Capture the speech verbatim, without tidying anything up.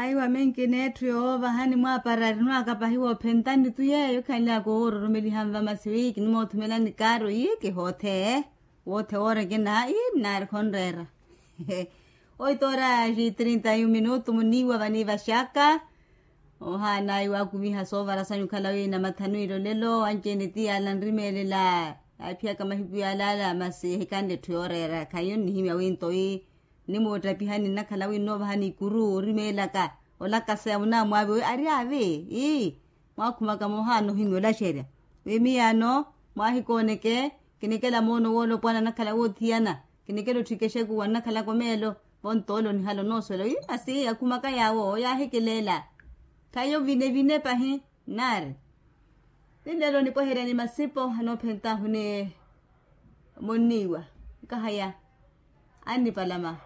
Aiwa menki n'etthu yoovaha nimwaapara arinwaaka pahi woophentani tu yeeyo khanly'aka owoororomeliha nva masi wi kinimoothumela nikaaro ii kihoothe woothe woorekena ii nnaari khonreera. Oito horas e trinta e um minutu muniiwa vaniivaxaka. Ohaana iwaakumiha soovara sanyu khala wi namathanu ilolelo anci-ene ti yaala nrimeelela. Yaaphiyaka mahiku yaalaala masi ehikanle etthu yooreera khahiyo nnihimya wi nto ii nimuuttapihani nnakhala wi nnoovahani ikuru orimeelaka olakaseya munaamwaavi wi ari aavi ii mwaakhumaka moohaana ohimya olaxerya wi miyaano mwaahikooneke kinikela moono woolopwana nnakhala woothiyana kinikela otthikexekuwa nnakhalaka omeelo vontoolo nihala onoosuwela wi masi akhumaka yaawo yaahikileela khahiyo vine vine pahi nnaari ninleelo nipweherya ni masipo anoophentaahu ni munniiwa nkahaya annipalama